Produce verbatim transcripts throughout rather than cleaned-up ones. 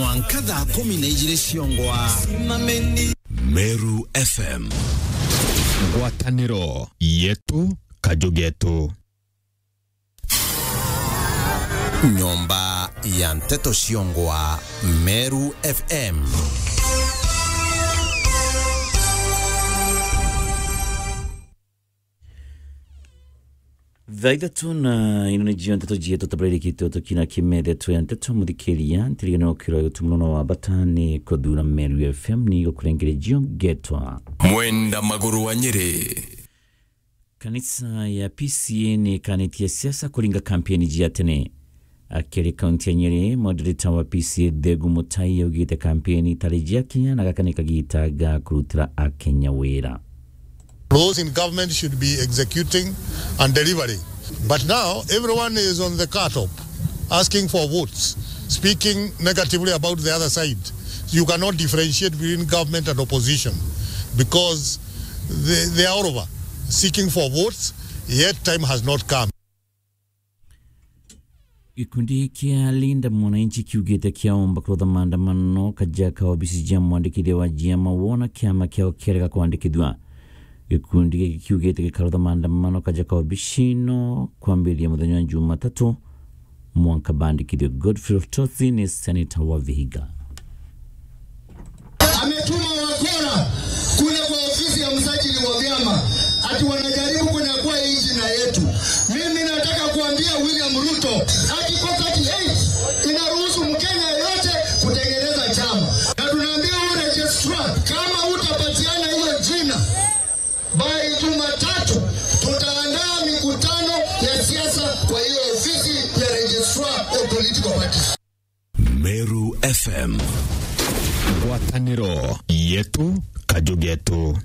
Mwanka thaa kumi na ijiri ciongwa. Meru F M. Ngwataniro yetu, kaju getu. Nyomba ya nteto ciongwa, Meru F M. Thaa ithatu na ino ni cio nteto cietu tabararikite utukina kimethetwe ya nteto muthikiria, ntirigane ukirwa utu muno wa bata ni kuthura Meru F M ni gukurengere cio ngetwa Mwenda Maguru wa Nyeri. Kanisa ya P C A ni ikanitie siasa kuringa kampeni cia tene. Akiri kaunti ya Nyeri, moderator wa P C A Thegu Mutai augite kampeni itari cia kinya na gaka ni kagita ga kurutira Akenya wira. Those in government should be executing and delivering. But now, everyone is on the car top, asking for votes, speaking negatively about the other side. You cannot differentiate between government and opposition because they, they are all over seeking for votes, yet time has not come. Gikundi kia Linda Mwananchi kiugite kiaomba kurutha maandamano kaja ka obici cia mwandikithia wa ciama wona kiama kiao kiarega kwandikithua. Gikundi giki kiugite gikarutha maandamano kaja ka obici ino kwambiriria muthenya wa Jumatatu mwanka bandikithue. Godfrey Otosi ni seneta wa Vihiga. Ametuma wakora kule kwa ofisi ya msajili wa vyama, ati wanajaribu kunyakua hii jina yetu. Mimi nataka kuambia William Ruto, Article thirty-eight inaruhusu Mkenya yeyote kutengeneza chama. Na tunaambia huyu registrar, kama utapatiana hiyo jina, by Jumatatu tutaandaa mikutano ya siasa kwa hiyo ofisi ya registrar of political parties. Meru F M. Ngwataniro yetu, kaju getu.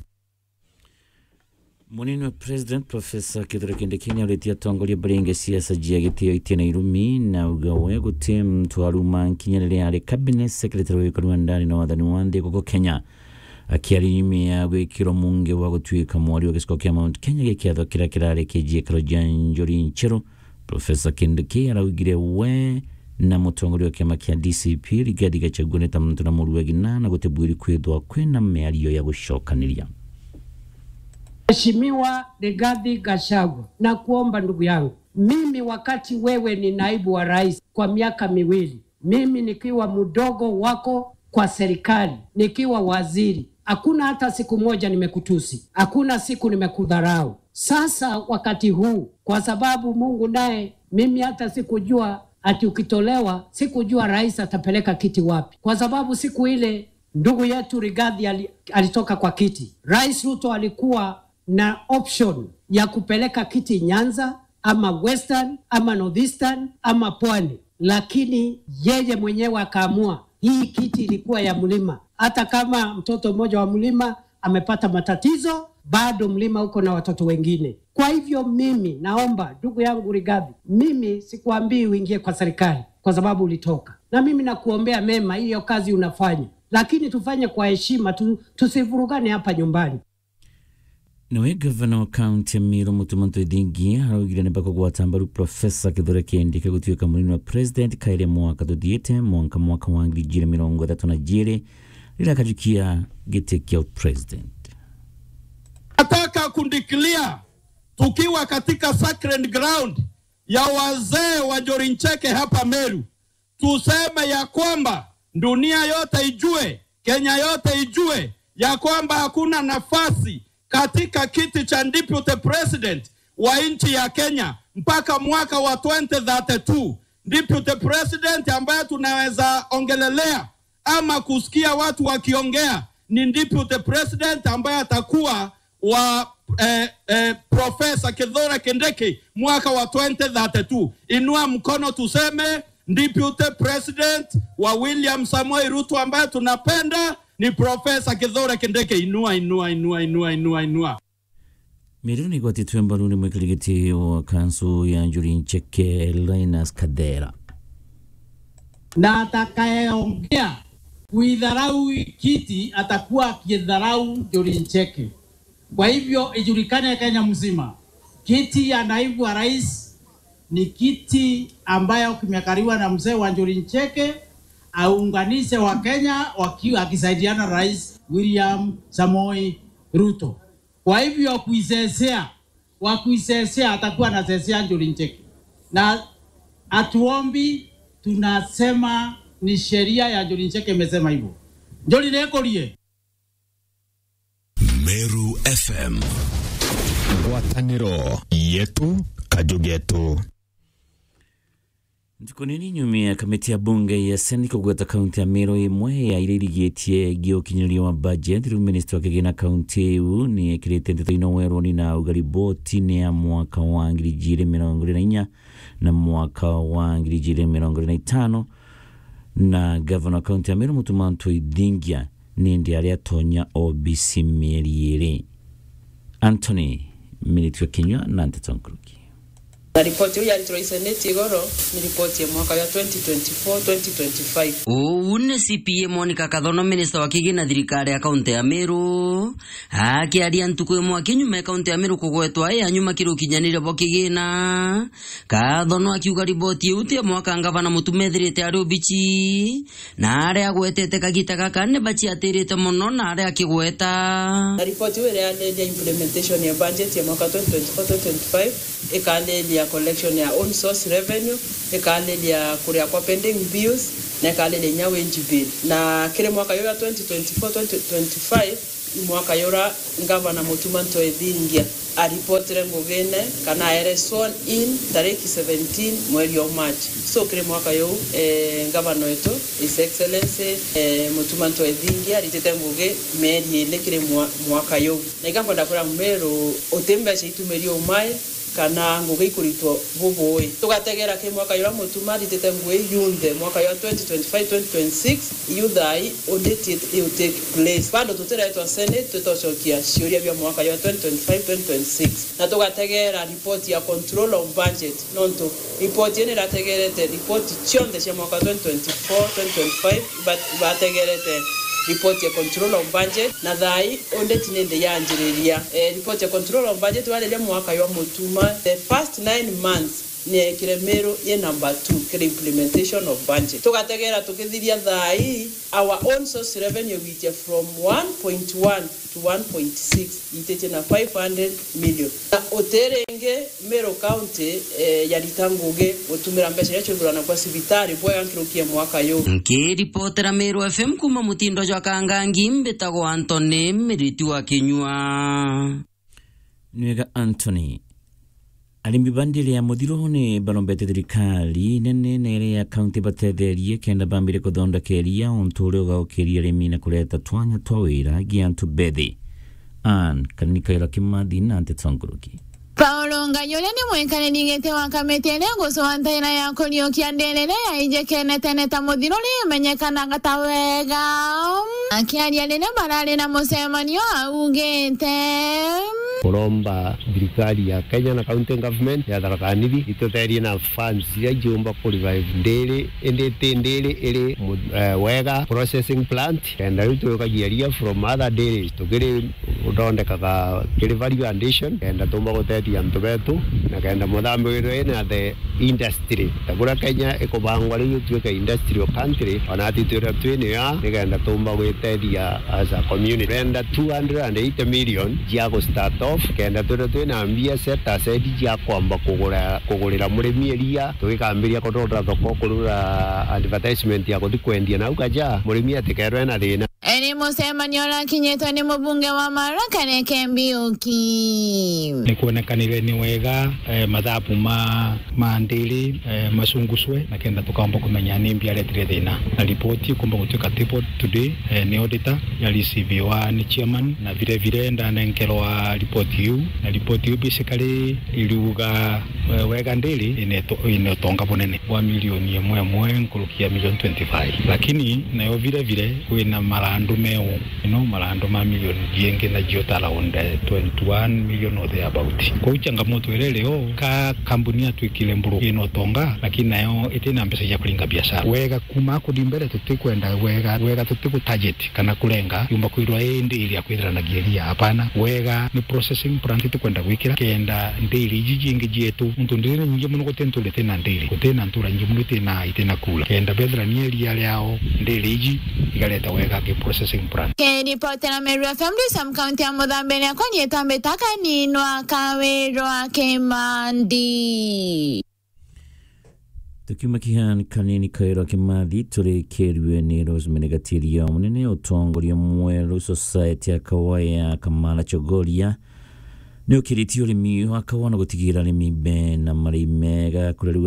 Munini wa President Professor Kithure Kindiki niauritie atongoria baringe siasa cia gitio itina irumi, na auga we guti muntu aruma nkinya riria ari cabinet secretary wa wikari wa ndani na wathani wa nthi guku Kenya. Akiaria nyuma ya gwikirwa munge wa gutuika mwari wa giciko kia Mount Kenya gia kiatho kiria kirari kia ciikaro cia Njuri Ncheru, Professor Kindiki araugire we na mutongoria wa kiama kia D C P Rigathi Gachagua ni ta muntu na muruagi na na gutibwiri kwithwa kwina miario ya gucokaniria. Mheshimiwa Rigathi Gachagua, nakuomba ndugu yangu, mimi wakati wewe ni naibu wa rais kwa miaka miwili, mimi nikiwa mdogo wako kwa serikali, nikiwa waziri, hakuna hata siku moja nimekutusi, hakuna siku nimekudharau. Sasa wakati huu, kwa sababu Mungu naye, mimi hata sikujua ati ukitolewa, sikujua rais atapeleka kiti wapi, kwa sababu siku ile ndugu yetu Rigathi ali-, alitoka kwa kiti, Rais Ruto alikuwa na option ya kupeleka kiti Nyanza ama Western ama Northeastern ama Pwani, lakini yeye mwenyewe akaamua hii kiti ilikuwa ya mlima. Hata kama mtoto mmoja wa mlima amepata matatizo, bado mlima uko na watoto wengine. Kwa hivyo mimi naomba, ndugu yangu Rigathi, mimi sikuambii uingie kwa serikali kwa sababu ulitoka, na mimi nakuombea mema hiyo kazi unafanya, lakini tufanye kwa heshima tu, tusivurugane hapa nyumbani. Nawe gavana wa kaunti ya Meru Mutuma Ntwethingia araugire ni bakugwata mbaru Professor Kithure Kindiki gutuika munini wa president kairi mwaka tuthiite, mwanka mwaka wa ngiri ijiri mirongo ithatu na jiri, riria akajukia giti kia president. Nataka kudeclare tukiwa katika sacred ground ya wazee wa Njuri Ncheke hapa Meru, tuseme ya kwamba dunia yote ijue, Kenya yote ijue ya kwamba hakuna nafasi katika kiti cha deputy president wa nchi ya Kenya mpaka mwaka wa twenty thirty-two. Deputy president ambaye tunaweza ongelelea ama kusikia watu wakiongea ni deputy president ambaye atakuwa wa, eh, eh, Professor Kithure Kindiki mwaka wa twenty thirty-two. Inua mkono tuseme, deputy president wa William Samoei Ruto ambaye tunapenda ni Professor Kithure Kindiki. Inua, inua, inua, inua, inua, inua. Meru ni igwatitwe mbaru ni mwikirigiti wa kansu ya Njuri Ncheke, Linus Kathera. Na atakayeongea kuidharau kiti atakuwa akidharau Njuri Ncheke. Kwa hivyo ijulikane Kenya mzima, kiti ya naibu wa rais ni kiti ambayo kimekaliwa na mzee wa Njuri Ncheke, aunganishe wa Kenya waki-, akisaidiana na Rais William Samoei Ruto. Kwa hivyo kuisesea, wa kuisesea atakuwa anasesea Njuri Ncheke. Na hatuombi, tunasema ni sheria ya Njuri Ncheke imesema hivyo. Njuri nikurie. Meru F M. Ngwataniro yetu, kaju getu. Ntuku nini nyuma ya kamiti ya bunge ya Senate kugweta kaunti ya Meru imwe ya iria irigitie gi ukinyiria wa budget, riu minista wa kigina kaunti iu ni ekirite nteto ino weroni na auga riboti ni ya mwaka wa ngiri igiri mirongo iri na inya na mwaka wa ngiri igiri mirongo iri na itano, na gavana wa kaunti ya Meru Mutuma Ntwithingia ni ndi aria atonya obisi mieri iri. Anthony Minitio Kinyua na nteto nkuruki. Na ripoti iu yaritirwe i Senate igoro ni ripoti ya mwaka ya twenty twenty-four, twenty twenty-five. Uu ni C P A Monica Kathono, minista wa kigina thirikari ya kaunti ya Meru, akiaria ntuku imwe akinyuma ya kaunti ya Meru kugwetwa i ya nyuma kiri ukinyaniria bwa kigina. Kathono akiuga riboti iu ti ya mwaka ngavana Mutuma ethirite ari obici, na aria agwetete kagita gaka ni baciatirite mono na aria akigweta. Na ripoti iu ireaniria implementation ya budget ya mwaka twenty twenty-four twenty twenty-five, ikariria collection ya own source revenue, ikariria kuria kwa pending bills, na ikariria inya wage bill. Na kiri mwaka uyu wa twenty twenty-four twenty twenty-five, mwaka yura Ngavana Mutuma Ntwithingia aripotire ngugine kana aere sworn in tariki seventeen mweri o March. So kiri mwaka yuu, eh, ngavana wetu, His Excellency, eh, Mutuma Ntwithingia aritite ngugi mieri iri kiri mwa-, mwaka yuu. Na iga nkwenda kwira Meru, uti mbeca itumiri umai, kana ngugi ikuritwo bubui. Tugategera ki mwaka yura Mutuma aritite ngugi yunthe, mwaka ywa twenty twenty-five twenty twenty-six, iu thaai undi ti-, iu take place. Bado tutiretwa Senate, tutocokia ciuria bia mwaka ywa twenty twenty-five twenty twenty-six. Na tugategera report ya control of budget, nontu report ii nirategerete report cionthe cia mwaka twenty twenty-four twenty twenty-five, but bategerete report ya control of budget, na thaai audit nindi yanjiriria. Eh, report ya control of budget wariria mwaka ywa Mutuma, the first nine months niekire Meru ye number two kiri implementation of budget. Tugategera tukithiria thaai, our own source revenue gwitia from one point one to one point six, ititie na five hundred million. Na utiringi Meru County, eh, yarita ngugi gutumira mbeca iria ciuthurana kwa cibitari bwega nkiruki ya mwaka yu. Nkiripotera Meru F M kuma mutindo jwa Kangangi, mbitagwa Anthony Miriti wa Kinyua. Nwega Anthony. Arimi ba ndiri ya muthiru ni barombete thirikari nene na iria ya kaunti batetherie kenda bambire kuthondekeria untu uria ugaukiria arimi na kureta twanya twa wira gi antu bethi. Ann Kanikaira Kimathi na nteto nkuruki. Paulo Ngai uria ni mwikariri giti wa kamiti iria igucwa ntaira ya kuriukia ndiri iria yaijikene tene ta muthiru ni imenyekanaga ta wega. Akiaria riria barari na mucemanio augite, kuromba thirikari ya Kenya na county government ya Tharaka Nithi ituterie na funds iria iumba ku revive ndiri, indi ti ndiri iri mu-, eh, wega processing plant, kenda riu twikagia ria from other dairies tukiri uthondekaga kiri value addition, kenda tumba gutethia antu betu, na kenda muthambi withirwe ina the industry. Ta kuria Kenya ikubangwa riu ituike industrial country, ona ati twira twi niyo, nikenda tumba gwitethia as a community. Renda two hundred and eighty million cia gu start off, kenda twira twina mbia set aside cia kwamba kugura, kugurira murimi iria, tugikambiria kuthondeka thoko, kurura advertisement ya kuthi kwendia nau kaja, murimi atikerwe ena thina. Eri mucemanio urakinyitwe ni mubunge wa Maara Kareke Mbiuki. Ni kuonekanire ni wega, eh, mathabu ma, ma ndiri, eh, macunguswe, na kenda tukaomba kumenya ni mbi aretire thina. Na ripoti ikumba gutuika tabled today, eh, ni auditor, ya receiviwa ni chairman, na vile vile ndanenkerwa ripoti iu. Na ripoti iu basically iriuga, eh, wega ndiri ina uto-, ina utonga bunene bwa milioni imwe imwe nkuruki ya milioni twenty-five. Lakini nayo vile vile kwina maranda Rumeo, ino marando ma milioni jingi na jio ta around, eh, twenty-one million or thereabout. Kwou changamoto iria irio, ka kambuni yatwikire mburu ina utonga, lakini nayo itina mbeca cia kuringa biashara. Wega kuma kuthi mbere tutikwenda wega, wega tutigutarget kana kurenga yumba kwirwa ii ndiri ya kwithiranagia iria, hapana. Wega ni processing plant tukwenda gwikira kenda ndiri iji jingi jietu, nontu ndiri ni nyingi muno, guti ntura itina ndiri, gutina ntura nyingi muno itina, itina kura. Kenda bethira ni iria riao ndiri iji igareta wega ki processing plant. Kiripotera Meru F M, ndi Sam kaunti ya Muthambe, ni akwa nietwa Mbita Kaninwa Kawirwa Kimandi. Tukiuma kihan kanini Kairwa Kimathi, turikirue ni Rosemary Gatiria, munene utongoria mweru society ya Kawaya Kamala Chogoria, ni ukiritie urimi wa kawa na gutigira arimi bena marii mega kurerua